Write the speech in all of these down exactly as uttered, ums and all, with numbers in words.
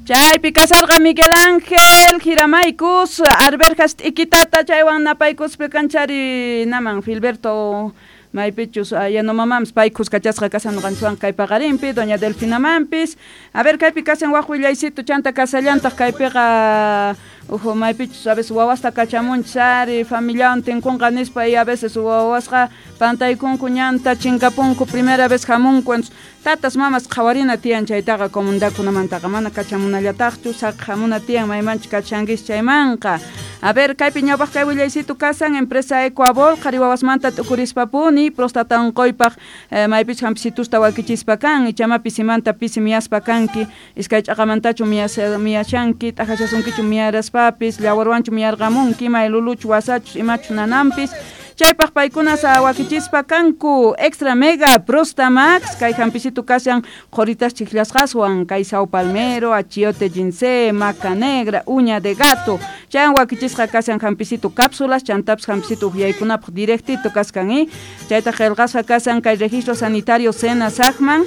Chaypi kasarqa Miguel Ángel Jiramaykus Arberjas t'ikitata chaywan napaykuspi kanchari naman Filberto maypichus Yanomamampis pay kuskachasqa kasan ñuqanchikwan kay paqarinpi doña Delfinamampis. A ver, kaypi kasan waq willaycito chanta kasallantaq kaypiqa uhu maypichus a veces wawasta kachamunchis ari familiawan tinkunqa nispa y a veces wawasqa pantaykunku ñanta chinkapunku primera vez hamunku. Entonces tatas mamas qhawarina tiyan chaytaqa comunidadkunamantaqa mana kachamunallataqchu saqi hamuna tiyan maymanchus kachankichis chaymanqa. A ver, kaypi ñawpaq kay willaycito kasan empresa Ecuabol qhari wawasmanta t'ukurispapuni prostata unquypaq eh, maypichus hampisitusta wakichispa kan ichama pisimanta pisi miyaspa kanki iskay ch'aqamantachu miyashanki t'ajashasunkichu miyaraspapis llawarwanchu miyarqamunki may luluchu wasachus imachus nanampis chaypaq paykuna wakichispa kanku Extra Mega Prostamax kay hampisitu kashan qhuritas chiklasqaswan kay sao palmero, achiote ginseng, maca negra, uña de gato chaywan wakichisqa kashan hampisitu cápsulas chantapis hampisitu uhyaykunapaq directito kaskan y chayta qillqasqa kashan kay registro sanitario SENASACman.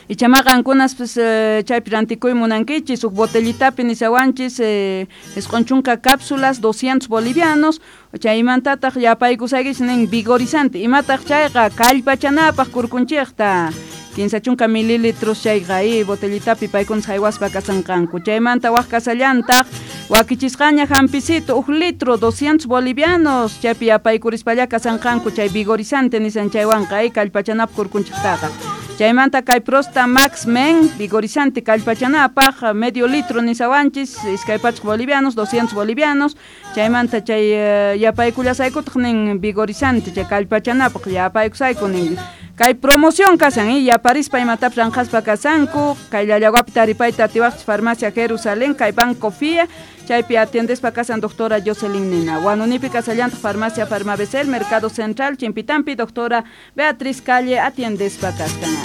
Ichama qankunas pues, eh, chaypi rantikuy munankichis huk botellitapi nisawanchis eh, isqun chunka cápsulas doscientos bolivianos chaymantataq yapaykusaykichis nin vigorizante imataq chayqa kallpachanapaq kurkunchikta kinsa chunka mililitros chayqa y botellitapi paykunas haywaspa kasanqanku chaymanta waq kasallantaq wakichisqaña hampisito huk litro doscientos bolivianos chaypi yapaykuриspalla kasanqanku chay vigorizante nisan chaywanqa y kallpachanapaq kurkunchiktaqa chaymanta kay Prosta Max Men vigorizante kallpachanapaq medio litro nisawanchis iskay pachak bolivianos doscientos bolivianos chaymanta chay uh, yapaykullasaykutaq nin vigorizante chay kallpachanapaq yapaykusayku nin kay promoción kasan y yaparispa imatapis ranqaspa kasanku kay Llallawapi taripayta atiwaqchis farmacia Jerusalén kay Banco F I A chaypi atiendespa kasan doctora Jocelyn Nina Huanunipi kasallantaq farmacia Farmabecel Mercado Central Chimpitampi doctora Beatriz Calle atiendespa kaskan.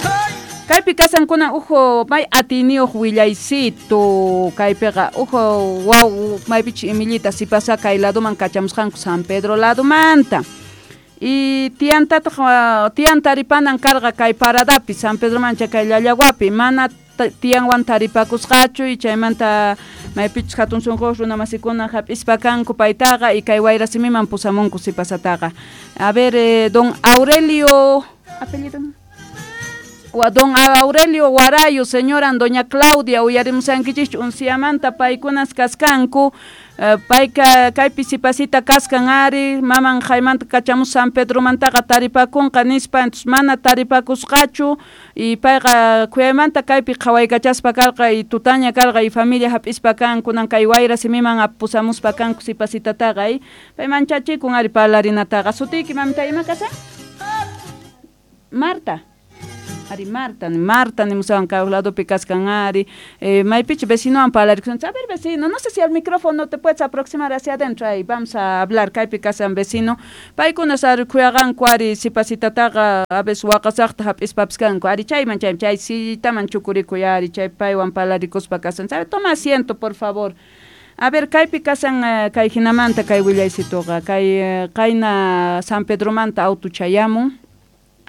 Kaypi kasankuna uhu may atiniyuq willaycito kaypiqa uhu waw maypichus imillita sipasa kay laduman kachamusqanku San Pedro ladumanta y tiyantataq tiyan taripanan karqa kay paradapi San Pedromancha kay Llallawapi mana tiyanwan taripakusqachu y chaymanta maypichus hatun sunquyuq runa masikuna hap'ispa kanku paytaqa y kay Wayrasimiman pusamunku sipasataqa. A ver, eh, don Aurelio apellido don Aurelio Guarayo, señora doña Claudia, uyarimusankichikchu unciamanta paykunas kaskanku, uh, payka kaypi sipasita kaskan ari, maman jaymanta kachamus San Pedromantaqa taripakunqa nispa, entonces mana taripakusqachu y payqa khuyaymanta kaypi qhawaykachaspa karqa y tutaña karqa y familia hap'ispa kan kunan kay Wayrasimiman pusamuspa kanku sipasitataqa y pay manchachikun ari parlarinataqa. Sutiyki mamita ima kasan? Marta. Ari Marta, Marta nimusawan kay ladopi kaskan ari, eh, maypichu vecinowan parlarikusun. A ver vecino, no sé si al micrófono te puedes aproximar hacia adentro ahí, vamos a hablar kaypi kasan vecino. Paykunas ari khuyaqanku ari sipasitataqa a veces waqasaqta hap'ispapis kanku ari chayman chay chay sillitaman chukurikuy ari chay paywan parlarikuspa kasan. Sabe, toma asiento por favor. A ver, kaypi kasan uh, kay hinamanta kay willaysituqa kay uh, qayna San Pedromanta auto chayamun.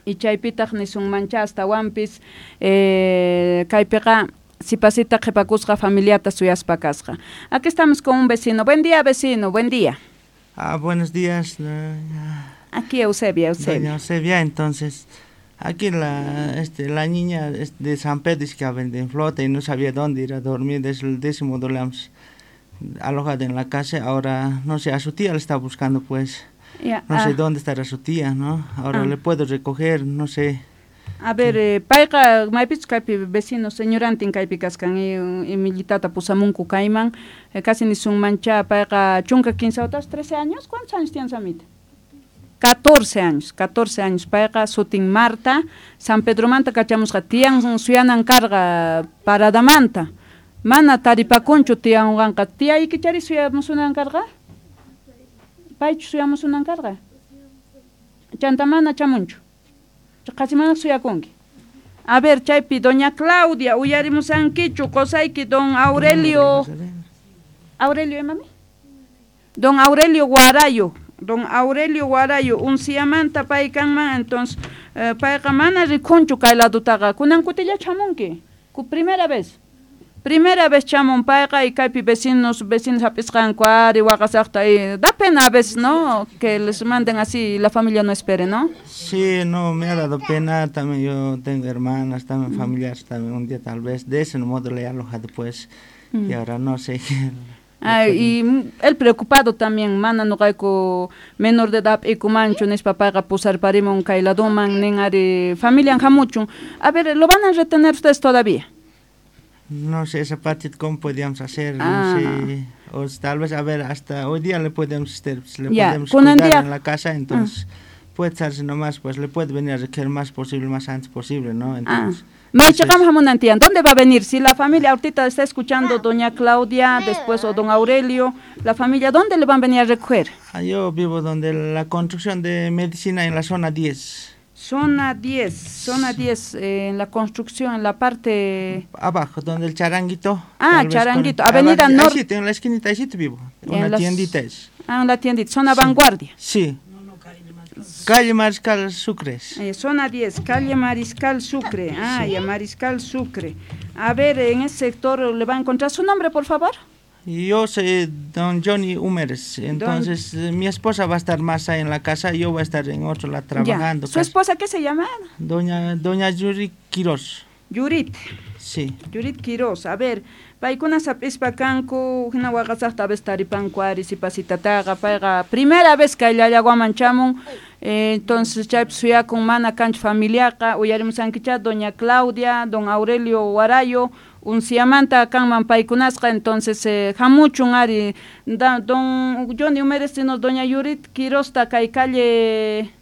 Y chaypitaq nisunmancha astawanpis eh, kaypiqa sipasita qhipakusqa familiata suyaspa kasqa. Aquí estamos con un vecino. Buen día, vecino, buen día. Ah, buenos días. Aquí Eusebia, Eusebia. Doña Eusebia, entonces, aquí la, este, la niña de San Pedro es que en flota y no sabía dónde ir a dormir desde el décimo le hemos alojado en la casa. Ahora, no sé, a su tía le está buscando, pues. Ya, no sé ah. dónde estará su tía, ¿no? Ahora Ah. le puedo recoger, no sé. A ver, eh, payqa maypichus kaypi vecino señorantin kaypi kaskan y imillitata pusamunku kayman eh, casi nisunmancha payqa chunka kinsa watas trece años, ¿cuántos años tienes, amita? catorce años, catorce años payqa sutin Marta, San Pedromanta kachamusqa tiyan suyanan karqa paradamanta mana taripakunchu tiyanwanqa tiyaykichari suyamusunan karqa paychu suyamusunan karqa chanta mana chamunchu qasi mana suyakunki. A ver, chaypi doña Claudia uyarimusankichu qusayki don Aurelio Aurelio imami? Don Aurelio Guarayo, don Aurelio Guarayo unciamanta pay kanman entonces eh, payqa mana rikunchu kay ladutaqa kunan kutillachu hamunki ku primera vez Primera vez chamun payqa y kaypi vecinos, vecinos hap'isqanku ari waqasaqta y da pena a veces, ¿no? Que les manden así y la familia no espere, ¿no? Sí, no, me ha dado pena, también yo tengo hermanas, también familiares, también un día tal vez de ese modo le he alojado pues, y ahora no sé qué. Ay, y él preocupado también, mana nuqayku menor de edad ikumanchu nispa payqa pusarparimun kay laduman nin ari familian hamuchun. A ver, ¿lo van a retener ustedes todavía? No sé esa parte cómo podíamos hacer, Ah. no sé, o tal vez, a ver, hasta hoy día le podemos, este, le Ya, podemos con el cuidar día- en la casa, entonces puede estarse nomás, pues le puede venir a recoger más posible, más antes posible, ¿no? Ah. Entonces, Maychaqam hamunan tiyan, ¿dónde va a venir? Si la familia ahorita está escuchando doña Claudia, después o don Aurelio, la familia, ¿dónde le van a venir a recoger? Ah, yo vivo donde la construcción de medicina en la zona diez. Zona diez, zona diez, eh, en la construcción, en la parte... Abajo, donde el charanguito. Ah, tal vez Charanguito, con- avenida abajo, Norte. Ahí sí, en la esquinita, ahí sí te vivo. En Una las- tiendita es. Ah, en la tiendita, zona Sí. Vanguardia. Sí. Calle Mariscal Sucres. Eh, zona diez, calle Mariscal Sucre. Ah, ya, Mariscal Sucre. A ver, en ese sector le va a encontrar su nombre, por favor. Yo soy don Johnny Humeres, entonces eh, mi esposa va a estar más ahí en la casa, yo voy a estar en otro lado trabajando. Ya. ¿Su casi. esposa qué se llama? Doña, doña Yuri Quiroz. Yurit. Sí. Yurit Quiroz. A ver, paykuna hap'ispa kanku, hina waqasaqta a veces taripanku ari sipasitataqa, payqa primera vez kay Llallaguaman chamun, eh, entonces chaypi suyakun mana kanchu familiaqa, uyarimusankichá doña Claudia, don Aurelio Warayo, unciamanta kanman paykunasqa, entonces eh, hamuchun ari, da, don Johnny Humeres doña Yurit Quirozta kay calle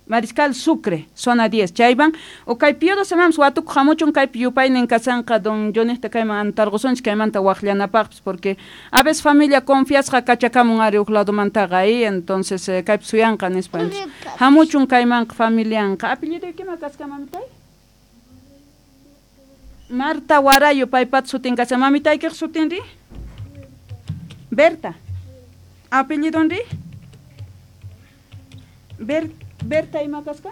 Mariscal Sucre, zona diez, chayvan, o kay Pío doce mams watukuq hamuchun kaypi yupaynin kasanqa don Johnnyta kayman antarqusunchik kaymanta waqllanapaqpis, porque a veces familia confiasqa kachakamun ari huk ladomantaqa ahí, entonces eh, kaypi suyanqa nispa, entonces, hamuchun kaymanqa familianqa. Apellido kima kasqa mamitay? Marta Warayo paypata sutin kasqa, mamitaykiq sutinri? Berta. Apellidonri? Ber Berta ima kasqa?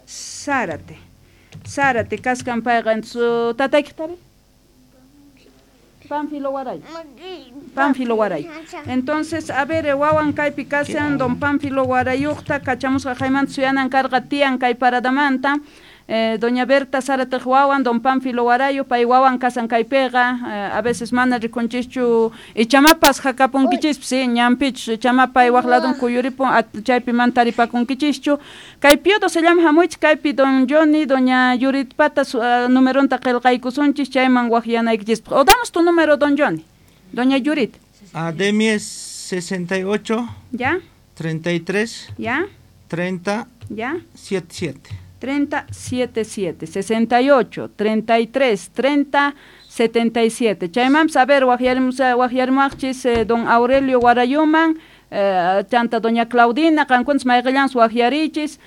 Zárate. Zárate kaskan payqa, entonces tataykiqtari? Pánfilo Warayo. Pánfilo Warayo. Entonces, a ver, wawan kaypi kashan, don Pánfilo Warayuqta kachamusqa haymanta suyanan karqa tiyan kay paradamanta. Eh, doña Berta Zárate wawan, don Pánfilo Warayo, pay wawan kasan kaypiqa, eh, a veces mana rikunchischu, ichamapas hakapunkichispas, sí, ñanpichus, ichamapay waq ladun kuyuripun, chaypi mana taripakunkichischu. Kay Pío doce llama hamuychik kaypi don Johnny, doña Yuritpata uh, numeronta qillqaykusunchis chayman waqyanaykichispaq. O damos tu número, don Johnny, doña Yurit. Ah, de mí es sesenta y ocho. ¿Ya? treinta y tres. ¿Ya? treinta. ¿Ya? setenta y siete. treinta, setenta y siete, sesenta y ocho, treinta y tres, treinta, setenta y siete. Chaymanpas, a ver, waqyarimuwaqchis eh, don Aurelio Warayuman, eh, chanta doña Claudina, qankunas mayqillanpas waqyarichis.